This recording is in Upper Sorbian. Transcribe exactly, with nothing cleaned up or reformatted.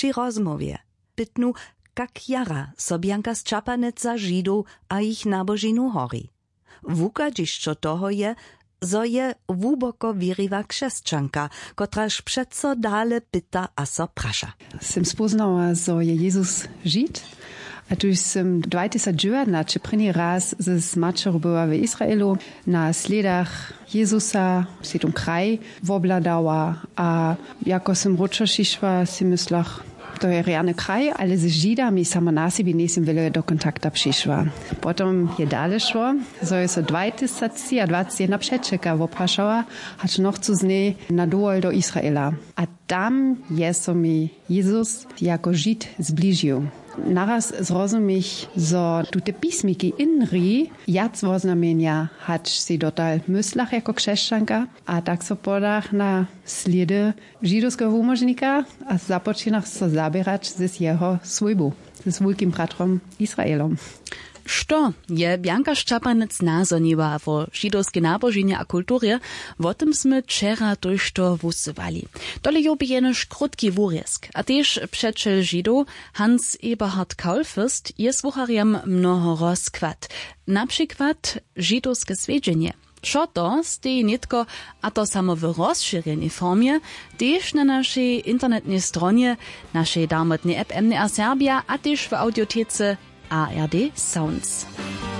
při rozmołwje pytnu, kak jara so bjanka sćapanec za židow a jich nabožinu hori. Wuchadźišćo toho je, zo je hłuboko wěriwa křesćanka, kotraž přeco dale pyta a so praša. Sym spóznała, zo je jezus žid, a tuž sym dwajtysać dźewjatnaće prěni raz z maćeru była w israelu, na slědach jezusa sej tón kraj wobhladała. A jako sym wróćo přišła, sej myslach, to je rjany kraj, ale z židami samo na sebi njejsym wjele do kontakta přišła. Potom je dale šło, zo je so dwajtysać třiadwaceći jedna přećelka woprašała, hač nochcu z njej na dowol do israela. A tam je so mi jezus jako žid zbližił. Naraz zrozumich, zo tute pismiki inri wjac woznamjenja, hač sej dotal myslach jako křesćanka. A tak so podach na slědy židowskeho wumožnika a započinach so zaběrać z jeho swójbu, z wulkim bratrom israelom. Što je bjanka šćapanec nazhoniła wo židowskej naboženje a kulturje? Wo tym smy wčera tójšto wusywali. Tole je bě jenož krótki wurězk a tež přećel židow hans eberhard kaulfürst je słucharjam mnoho rozkład, na přikład židowske swjedźenje. Wšo to steji nětko, a to samo w rozšěrjenej formje, tež na našej internetnej stronje, našej darmotnej app mdr serbja a tež w audiotece ard sounds.